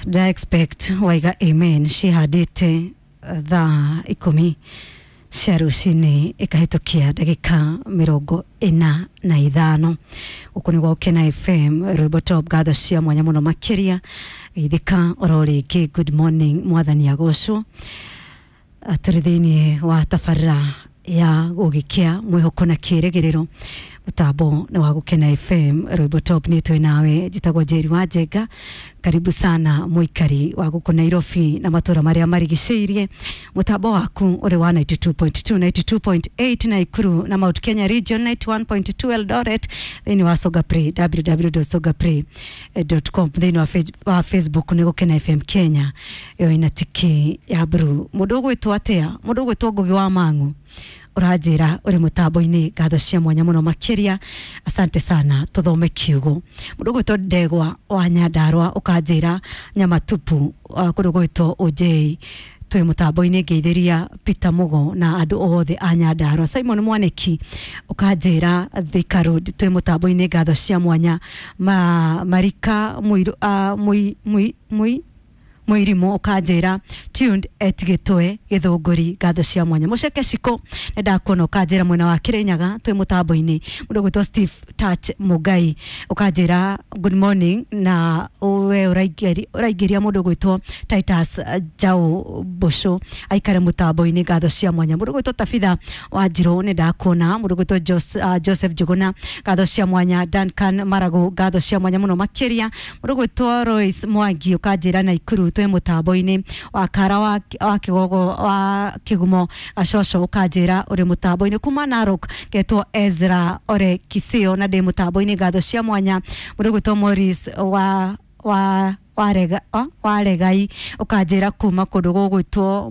Nda expect waiga amen cihandĩte thaa 10 cia rũcinĩ ĩkahĩtũkia ndagĩka 45. Gũkũ nĩ gwa Gũkena FM, rwĩmbo top. Ngatho cia mwanya mũno makĩria geithĩka oro rĩngĩ. Good morning, mwathani agocwo. Tũrĩ thĩinĩ wa tabarĩra ya gũgĩkĩa mwĩhoko na kĩrĩgĩrĩro, mũtambo nĩ wa Gũkena FM, rwĩmbo top. Nĩ twĩ nawe, njĩtagwo Njeri wa Njenga. Karibu sana mũikari wa gũkũ Nairobi na matũra marĩa marigicĩirie. Mũtambo waku ũrĩ wa 92.2, 92.8 Naikuru na Mount Kenya region, 91.2 Eldoret, thĩinĩ wa Songa Play, www.songaplay.com. Thĩinĩ wa Facebook nĩ Gũkena FM Kenya, ĩyo ĩna tiki ya blue. Mũndũ ũgwĩtwo atĩa? Mũndũ ũgwĩtwo Ngũgĩ wa Mang'u ũranjĩra ũrĩ mũtambo-inĩ, ngatho cia mwanya mũno makĩria, asante sana. Tũthome kiugo. Mũndũ ũgwĩtwo Ndegwa wa Nyandarũa ũkanjĩra Nyamatupu, kũndũ gwĩtwo Ũnjei, twĩ mũtambo-inĩ. Ngeithĩria Peter Mugo na andũ othe a Nyandarũa. Simon Mwaniki ũkanjĩra Thika Road, twĩ mũtambo-inĩ, ngatho cia mwanya. Marika Mũirũ, Mũi Mũi Mũi Mũirimũ ũkanjĩra tuned at Gĩtwe Gĩthũngũri, ngatho cia mwanya. Mũceke Ciko nĩ ndakuona, ũkanjĩra mwena wa Kĩrĩnyaga twĩ mũtambo-inĩ. Mũndũ ũgwĩtwo Steve Touch Mũngai ũkanjĩra good morning, na we ũraingĩria mũndũ ũgwĩtwo Titus Njaũ Mbũcũ aikare mũtambo-inĩ, ngatho cia mwanya. Mũndũ ũgwĩtwo Tabitha Wanjirũ nĩ ndakuona. Mũndũ ũgwĩtwo Joseph Njuguna, ngatho cia mwanya. Duncan Maragu, ngatho cia mwanya mũno makĩria. Mũndũ ũgwĩtwo Royce Mwangi ũkanjĩra Naikuru twĩ mũtambo-inĩ. Wa Kara wa Kĩgogo wa Kĩgumo Gacoco ũkanjĩra ũrĩ mũtambo-inĩ. Kuma Narok getwo Ezra Ore Kisio na ndĩ mũtambo-inĩ, ngatho cia mwanya. Mũndũ ũgwĩtwo Morris wa warega waregai ũkanjĩra kuma kũndũ gũgwĩtwo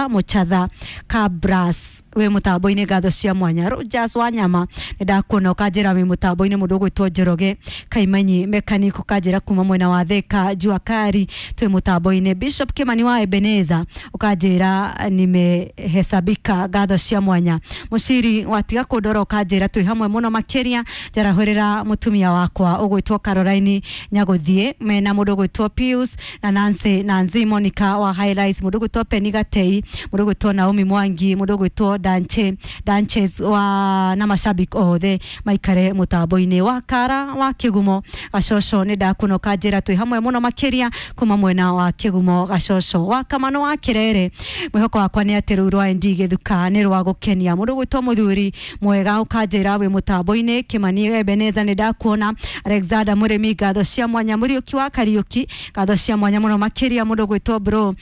Mũchatha Kabras, wĩ mũtambo-inĩ, ngatho cia mwanya. Rogers Wanyama nĩ ndakuona, ũkanjĩra wĩ mũtambo-inĩ. Mũndũ ũgwĩtwo Njoroge Kaimanyi mechanic ũkanjĩra kuma mwena wa Thika Jua Kali, twĩ mũtambo-inĩ. Bishop Kimani wa Ebeneza ũkanjĩra nimehesabika, ngatho cia mwanya. Mũciri watiga kũndora ũkanjĩra twĩ hamwe mũno makĩria, njarahũrĩra mũtumia wakwa ũgwĩtwo Caroline Nyagũthiĩ mena mũndũ ũgwĩtwo Pius na Nancy, Nancy Monica wa Highlights, mũndũ ũgwĩtwo Penny Gatei, mũndũ ũgwĩtwo Naomi Mwangi, mũndũ ũgwĩtwo Danche Danches wa na mashabiki othe maikare mũtambo-inĩ. Wa Kara wa Kĩgumo Gacoco nĩ ndakuona, ũkanjĩra twĩ hamwe mũno makĩria kuma mwena wa Kĩgumo Gacoco. Wa Kamano wa Kĩrere, mwĩhoko wakwa nĩ atĩ rũu rwa ND Gĩthuka nĩ rwa gũkenia. Mũndũ ũgwĩtwo Mũthuri Mwega ũkanjĩra wĩ mũtambo-inĩ. Kĩmani Ebeneza nĩ ndakuona. Alexander Mũrĩmi, ngatho cia mwanya. Mũriũki wa Kariũki, ngatho cia mwanya mũno makĩria. Mũndũ ũgwĩtwo bro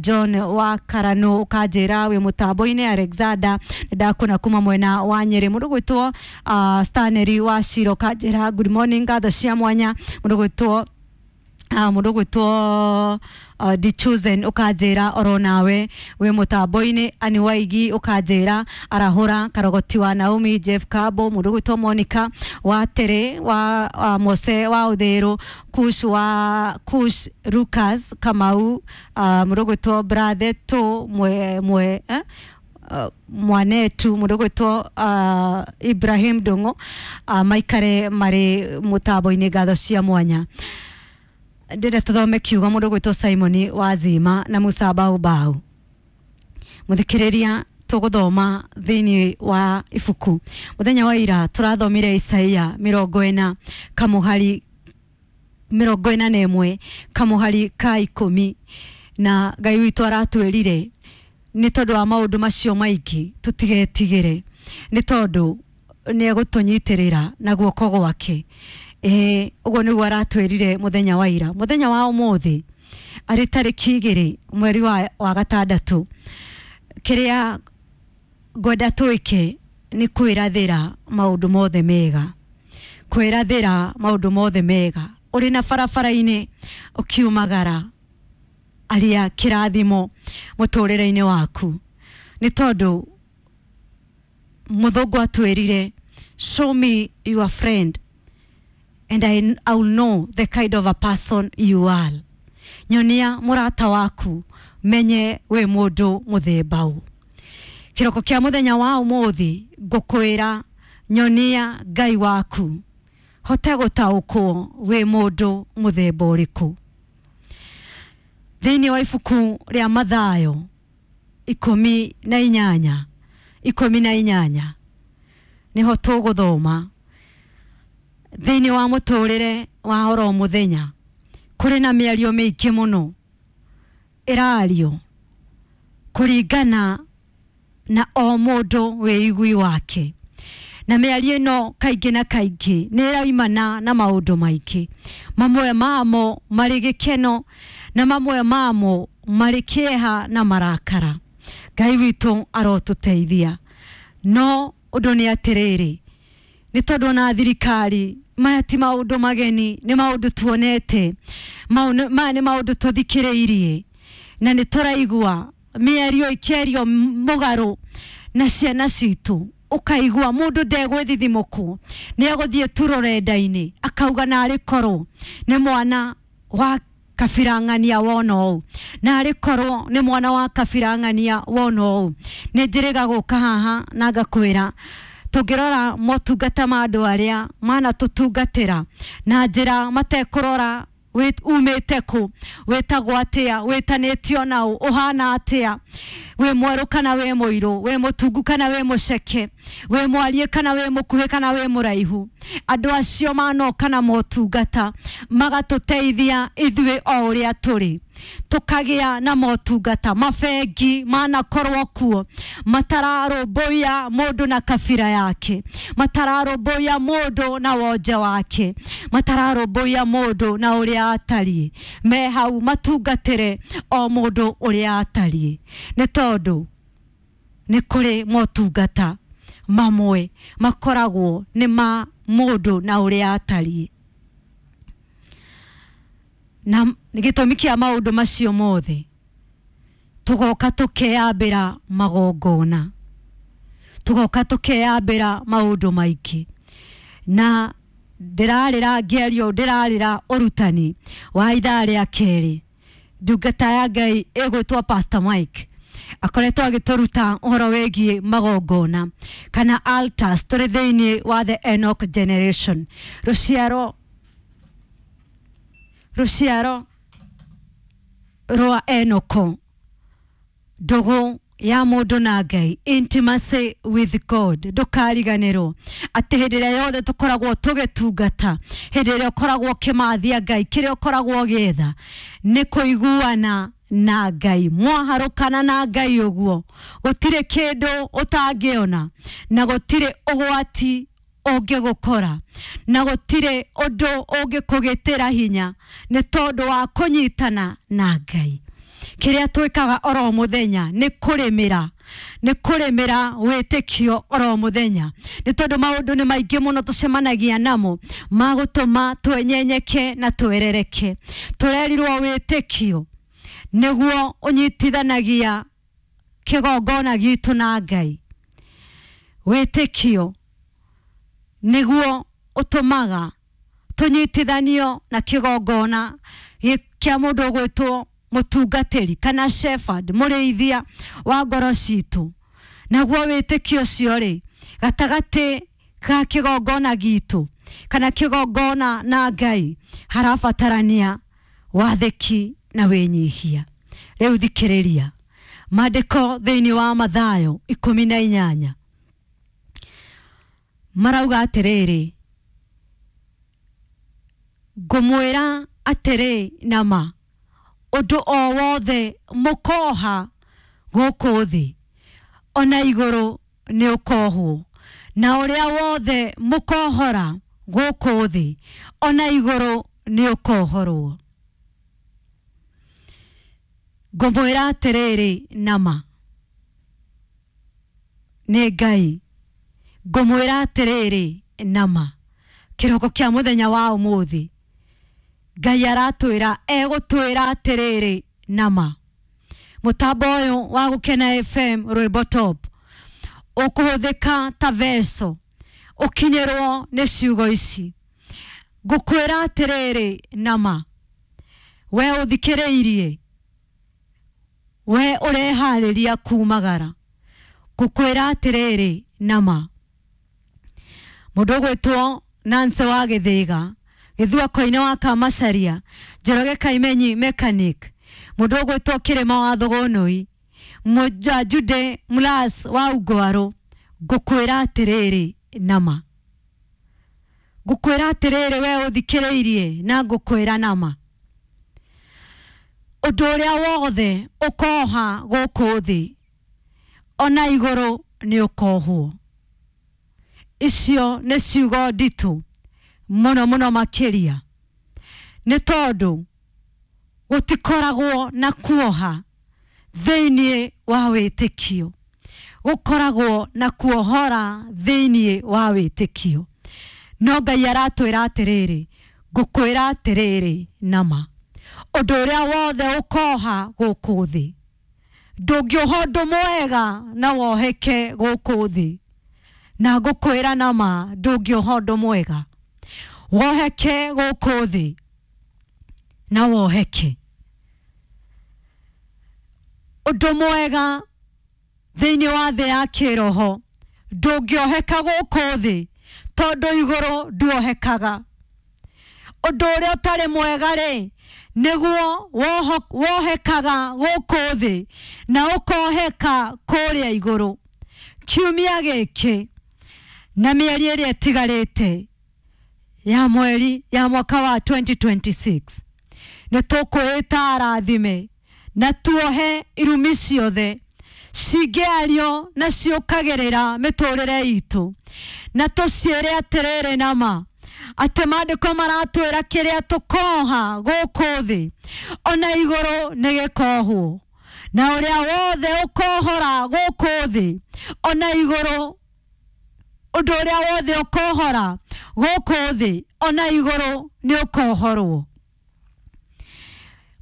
John wa Karano ũkanjĩra wĩ mũtambo-inĩ. Alexander nĩ ndakuona kuma mwena wa Nyĩrĩ. Mũndũ ũgwĩtwo Stanley wa Shiro ũkanjĩra good morning, ngatho cia mwanya. Mũndũ ũgwĩtwo The Chosen ũkanjĩra oro nawe wĩ mũtambo-inĩ. Ani Waigi ũkanjĩra arahũra Karogoti wa Naomi Jeff Kabo. Mũndũ ũgwĩtwo Monica wa Tere wa Mose wa Ũthĩrũ Kush wa Kush Lucas Kamau, mũndũ ũgwĩtwo Brother to mwe mwe mwanetu, mũndũ ũgwĩtwo Ibrahim Ndung'u, maikare marĩ mũtambo-inĩ, ngatho cia mwanya. Ndĩrenda tũthome kiugo. Mũndũ ũgwĩtwo Simon Wazima na Musa Baubau, mũthikĩrĩria, tũgũthoma thĩinĩ wa ibuku. Mũthenya wa ira tũrathomire Isaia 40 kamũhari 41 kamũhari ka 10, na Ngai witũ aratwĩrire nĩ tondũ wa maũndũ macio maingĩ tũtigetigĩre, nĩ tondũ nĩ egũtũnyitĩrĩra na guoko gwake. Ĩĩ, ũguo nĩguo aratwĩrire mũthenya wa ira. Mũthenya wa ũmũthĩ arĩ tarĩki 2 mweri wa gatandatũ, kĩrĩa ngwenda twĩke nĩ kwĩrathĩra maũndũ mothe mega, kwĩrathĩra maũndũ mothe mega. Ũrĩ na barabara-inĩ ũkiumagara, aria kĩrathimo mũtũrĩre-inĩ waku, nĩ tondũ mũthũngũ atwĩrire, "Show me your friend and I will know the kind of a person you are." Nyonia mũrata waku menye wĩ mũndũ mũthemba ũ. Kĩroko kĩa mũthenya wa ũmũthĩ ngũkwĩra nyonia Ngai waku hote gũtaũkwo wĩ mũndũ mũthemba ũrĩkũ. Thĩinĩ wa ibuku rĩa Mathayo 18 18 niho tũgũthoma. Thĩinĩ wa mũtũrĩre wa oro mũthenya kũrĩ na mĩario mĩingĩ mũno ĩrario kũringana na o mũndũ wĩigui wake, na mĩario ĩno kaingĩ na kaingĩ nĩ ĩraimana na maũndũ maingĩ, mamwe mamo marĩ gĩkeno na mamwe mamo marĩ kĩeha na marakara. Ngai witũ arotũteithia. No ũndũ nĩ atĩrĩrĩ, nĩ tondũ ona thirikari maya ti maũndũ mageni, nĩ maũndũ tuonete, maya nĩ maũndũ tũthikĩrĩirie na nĩ tũraigua mĩario ĩkĩario mũgarũ na ciana citũ. Ũkaigua mũndũ ndegwĩthithimũkwo, nĩ egũthiĩ tu rũrenda-inĩ akauga narĩ korwo nĩ mwana wa kabirang'ania wona ũũ, narĩ korwo nĩ mwana wa kabirang'ania wona ũũ. Nĩ njĩrĩga gũka haha na ngakwĩra tũngĩrora motungata ma andũ arĩa manatũtungatĩra na njĩra matekũrora umĩte kũ, wĩtagwo atĩa, wĩtanĩtio naũ, ũhana atĩa, wĩ mwerũ kana wĩ mũirũ, wĩ mũtungu kana wĩ mũceke, wĩ mwarie kana wĩ mũkuhĩ kana wĩ mũraihu. Andũ acio manoka na motungata magatũteithia ithuĩ o ũrĩa tũrĩ, tũkagĩa na motungata. Mabengi manakorwo kuo matararũmbũiya mũndũ na kabira yake, matararũmbũiya mũndũ na wonje wake, matararũmbũiya mũndũ na ũrĩa atariĩ. Me hau matungatĩre o mũndũ ũrĩa atariĩ, nĩ tondũ nĩ kũrĩ motungata mamwe makoragwo nĩ ma mũndũ na ũrĩa atariĩ. Na gĩtũmi kĩa maũndũ macio mothe, tũgoka tũkeyambĩra magongona, tũgoka tũkeyambĩra maũndũ maingĩ. Na ndĩrarĩra ngĩario, ndĩrarĩra ũrutani wa ithaa rĩa kerĩ. Ndungata ya Ngai ĩgwĩtwo Pastor Mike akoretwo agĩtũruta ũhoro wĩgiĩ magongona kana altars. Tũrĩ thĩinĩ wa the Enoch generation, rũciaro rwa Enoko, ndũgũ ya mũndũ na Ngai, intimacy with God. Ndũkariganĩrwo atĩ hĩndĩ ĩrĩa yothe tũkoragwo tũgĩtungata, hĩndĩ ĩrĩa ũkoragwo ũkĩmathia Ngai, kĩrĩa ũkoragwo ũgĩetha nĩ kũiguana na Ngai. Mwaharũkana na Ngai ũguo, gũtirĩ kĩndũ ũtangĩona, na gũtirĩ ũgwati ũngĩgũkora, na gũtirĩ ũndũ ũngĩkũgĩtĩra hinya, nĩ tondũ wa kũnyitana na Ngai. Kĩrĩa twĩkaga oro mũthenya nĩ kũrĩmĩra, nĩ kũrĩmĩra wĩtĩkio oro mũthenya, nĩ tondũ maũndũ nĩ maingĩ mũno tũcemanagia namo magũtũma twenyenyeke na twerereke. Tũrerirwo wĩtĩkio nĩguo ũnyitithanagia kĩgongona gitũ na Ngai. Wĩtĩkio nĩguo ũtũmaga tũnyitithanio na kĩgongona kĩa mũndũ ũgwĩtwo mũtungatĩri kana shepherd, mũrĩithia wa ngoro citũ. Naguo wĩtĩkio ũcio rĩ, gatagatĩ ka kĩgongona gitũ kana kĩgongona na Ngai, harabatarania wathĩki na wĩnyihia. Rĩu thikĩrĩria maandĩko thĩinĩ wa Mathayo 18 marauga atĩrĩrĩ, ngũmwĩra atĩrĩ nama, ũndũ o wothe mũkoha gũkũ thĩ ona igũrũ nĩ ũkohwo, na ũrĩa wothe mũkohora gũkũ thĩ ona igũrũ nĩ ũkohorwo. Ngũmwĩra atĩrĩrĩ nama, nĩ Ngai. Ngũmwĩra atĩrĩrĩ nama, kĩroko kĩa mũthenya wa ũmũthĩ Ngai aratwĩra, egũtwĩra atĩrĩrĩ nama. Mũtambo ũyũ wa Gũkena FM Rwĩmbo Top ũkũhũthĩka ta veso ũkinyĩrwo nĩ ciugo ici. Ngũkwĩra atĩrĩrĩ nama, we ũthikĩrĩirie, we ũreharĩria kumagara, ngũkwĩra atĩrĩrĩ nama. Mũndũ ũgwĩtwo Nancy wa Gĩthĩga, Gĩthua Koine wa Kamacaria, Njoroge Kaimenyi mechanic, Mũndũ ũgwĩtwo Kĩrĩma wa Thũgũnũi, Jude Mlas wa Ungwaru, ngũkwĩra atĩrĩrĩ nama, ngũkwĩra atĩrĩrĩ we ũthikĩrĩirie, na ngũkwĩra nama, ũndũ ũrĩa wothe ũkoha gũkũ thĩ ona igũrũ nĩ ũkohwo. Icio nĩ ciugo nditũ mũno mũno makĩria, nĩ tondũ gũtikoragwo na kuoha thĩinĩ wa wĩtĩkio, gũkoragwo na kuohora thĩinĩ wa wĩtĩkio. No Ngai aratwĩra atĩrĩrĩ, ngũkwĩra atĩrĩrĩ nama, ũndũ ũrĩa wothe ũkoha gũkũ thĩ, ndũngĩoha ũndũ mwega na woheke gũkũ thĩ, na ngũkwĩra nama, ndũngĩoha ũndũ mwega woheke gũkũ thĩ na woheke. Ũndũ mwega thĩinĩ wa thĩ ya kĩroho ndũngĩoheka gũkũ thĩ, tondũ igũrũ nduohekaga. Ũndũ ũrĩa ũtarĩ mwega rĩ, nĩguo wohekaga gũkũ thĩ na ũkoheka kũrĩa igũrũ. Kiumia gĩkĩ na mĩeri ĩrĩa ĩtigarĩte ya mweri ya mwaka wa 2026 nĩ tũkwĩta arathime na tuohe irumi ciothe cingĩario na ciũkagĩrĩra mĩtũrĩre itũ, na tũciĩre atĩrĩrĩ nama, atĩ maandĩko maratwĩra kĩrĩa tũkoha gũkũ thĩ ona igũrũ nĩ gĩkohwo, na ũrĩa wothe ũkohora gũkũ thĩ ona igũrũ, ũndũ ũrĩa wothe ũkohora gũkũ thĩ ona igũrũ nĩ ũkohorwo.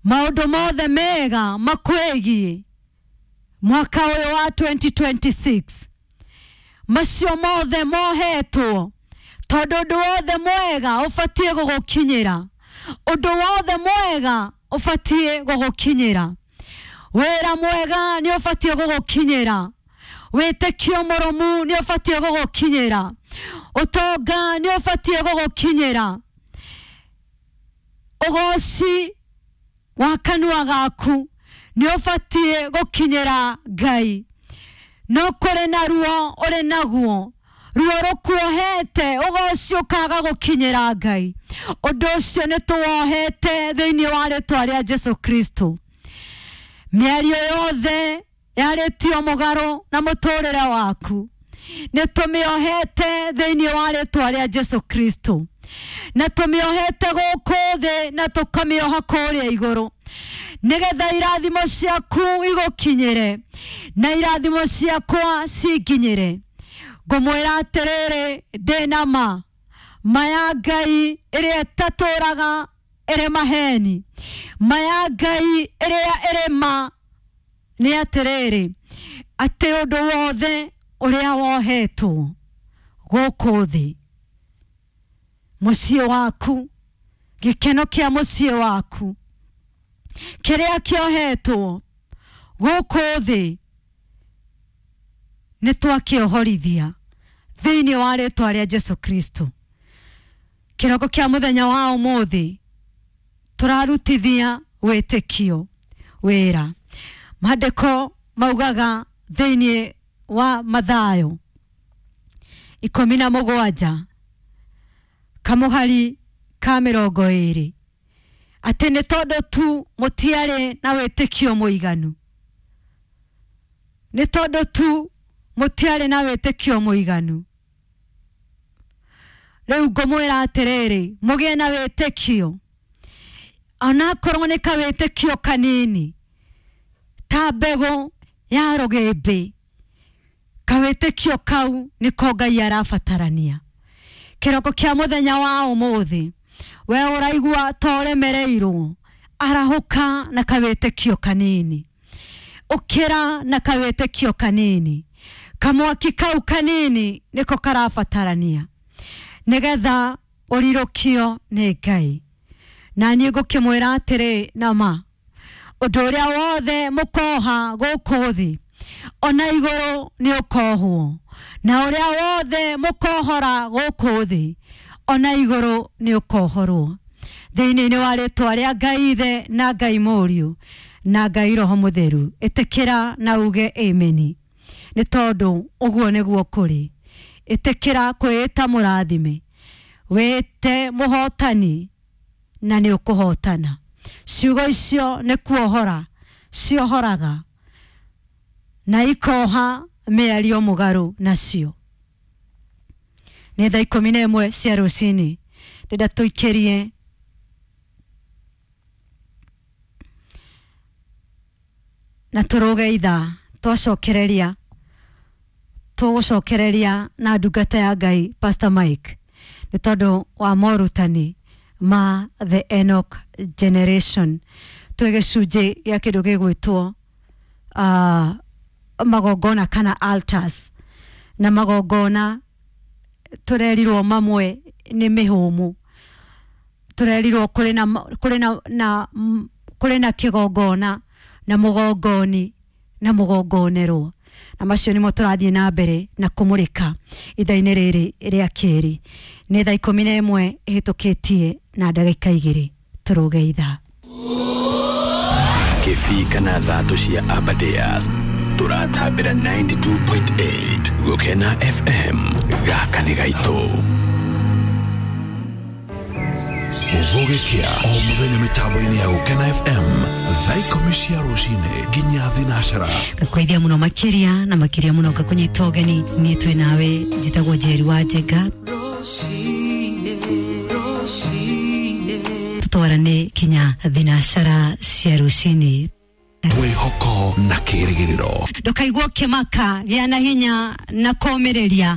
Maũndũ mothe mega makwĩgiĩ mwaka ũyũ wa 2026, macio mothe mohetwo, tondũ ũndũ wothe mwega ũbatiĩ gũgũkinyĩra, ũndũ wothe mwega ũbatiĩ gũgũkinyĩra, wĩra mwega nĩ ũbatiĩ gũgũkinyĩra, wĩtĩkio mũrũmu nĩ ũbatiĩ gũgũkinyĩra, ũtonga nĩ ũbatiĩ gũgũkinyĩra, ũgoci wa kanua gaku nĩ ũbatiĩ gũkinyĩra Ngai. No kũrĩ na ruo ũrĩ naguo, ruo rũkuohete, ũgoci ũkaga gũkinyĩra Ngai, ũndũ ũcio nĩ tũwohete thĩinĩ wa rĩtwa rĩa Jesu Kristo. Mĩario yothe yarĩtio mũgarũ na mũtũrĩre waku nĩ tũmĩohete thĩinĩ wa rĩtwa rĩa Jesu Kristo, na tũmĩohete gũkũ thĩ na tũkamĩoha kũrĩa igũrũ, nĩgetha irathimo ciaku igũkinyĩre na irathimo ciakwa cinginyĩre. Ngũmwĩra atĩrĩrĩ, ndĩ na ma, ma ya Ngai ĩrĩa ĩtatũraga ĩrĩ maheni, ma ya Ngai ĩrĩa ĩrĩ ma nĩ atĩrĩrĩ, atĩ ũndũ wothe ũrĩa wohetwo gũkũ thĩ, mũciĩ waku, gĩkeno kĩa mũciĩ waku, kĩrĩa kĩohetwo gũkũ thĩ nĩ twakĩohorithia thĩinĩ wa rĩtwa rĩa Jesu Kristo. Kĩroko kĩa mũthenya wa ũmũthĩ tũrarutithia wĩtĩkio wĩra. Maandĩko maugaga thĩinĩ wa Mathayo 17 kamũhari ka 20 atĩ nĩ tondũ tu mũtiarĩ na wĩtĩkio mũiganu, nĩ tondũ tu mũtiarĩ na wĩtĩkio mũiganu. Rĩu ngũmwĩra atĩrĩrĩ, mũgĩe na wĩtĩkio, onakorwo nĩ kawĩtĩkio kanini ta mbegũ ya rũgĩmbĩ, kawĩtĩkio kau nĩko Ngai arabatarania. Kĩroko kĩa mũthenya wa ũmũthĩ, we ũraigua ta ũremereirwo, arahũka na kawĩtĩkio kanini, ũkĩra na kawĩtĩkio kanini, kamwaki kau kanini nĩko karabatarania nĩgetha ũrirũkio nĩ Ngai. Na niĩ ngũkĩmwĩra atĩrĩ nama, ũndũ ũrĩa wothe mũkoha gũkũ thĩ ona igũrũ nĩ ũkohwo, na ũrĩa wothe mũkohora gũkũ thĩ ona igũrũ nĩ ũkohorwo. Thĩinĩ wa rĩtwa rĩa Ngai Ithe na Ngai Mũriũ Na Ngai Roho Mũtheru, ĩtĩkĩra na uge ameni, nĩ tondũ ũguo nĩguo kũrĩ. Ĩtĩkĩra kwĩĩta mũrathime, wĩte mũhotani na nĩ ũkũhotana. Ciugo icio nĩ kuohora ciohoraga na ikoha mĩario mũgarũ nacio. Nĩ thaa 11 cia rũcinĩ, ndĩrenda tũikĩrie na tũrũge ithaa. Twacokereria tũgũcokereria na ndungata ya Ngai Pastor Mike, nĩ tondũ wa morutani ma The Enoch Generation. Twĩ gĩcunjĩ gĩa kĩndũ gĩgwĩtwo magongona kana altars, na magongona tũrerirwo mamwe nĩ mĩhũmũ, tũrerirwo kũrĩ na kũrĩ na, na kũrĩ na kĩgongona na mũgongoni na mũgongonerwo, na macio nĩmo tũrathiĩ na mbere na kũmũrĩka ithaa-inĩ rĩrĩ rĩa kerĩ. Nĩ thaa 11 ĩhĩtũkĩtie na ndagĩka 2, tũrũge ithaa. Kĩbii kana thatũ cia Aberdares, tũratambĩra 92.8 Gũkena FM. Gaka nĩ gaitũ. Gũgĩkĩa o mũthenya mĩtambo-inĩ ya Gũkena FM, thaa 10 cia rũcinĩ nginya thinacara. Ngakũithia mũno makĩria na makĩria mũno, ngakũnyita ũgeni. Niĩ twĩ nawe, njĩtagwo Njeri wa Njenga, tũtwarane kinya thinacara cia rũcinĩ. Mwĩhoko na kĩrĩgĩrĩro. Ndũkaigua ũkĩmaka, gĩa na hinya na kũũmĩrĩria.